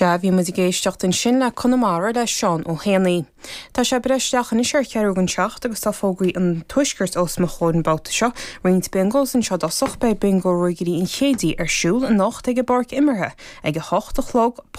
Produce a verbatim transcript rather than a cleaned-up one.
Sea bhí muid ag éisteacht ansin le Conamara le Seán Ó hÉanaí. Tá sé breis isteach anois ar cheathrú don seacht agus tá fógraí an tuaiscirt os mo chomhair an babhta seo, roinnt bingos anseo i dtosach beidh bingo Ruagairí an Chéidí ar siúl anocht ag an bpáirc imeartha ag a hocht a chlog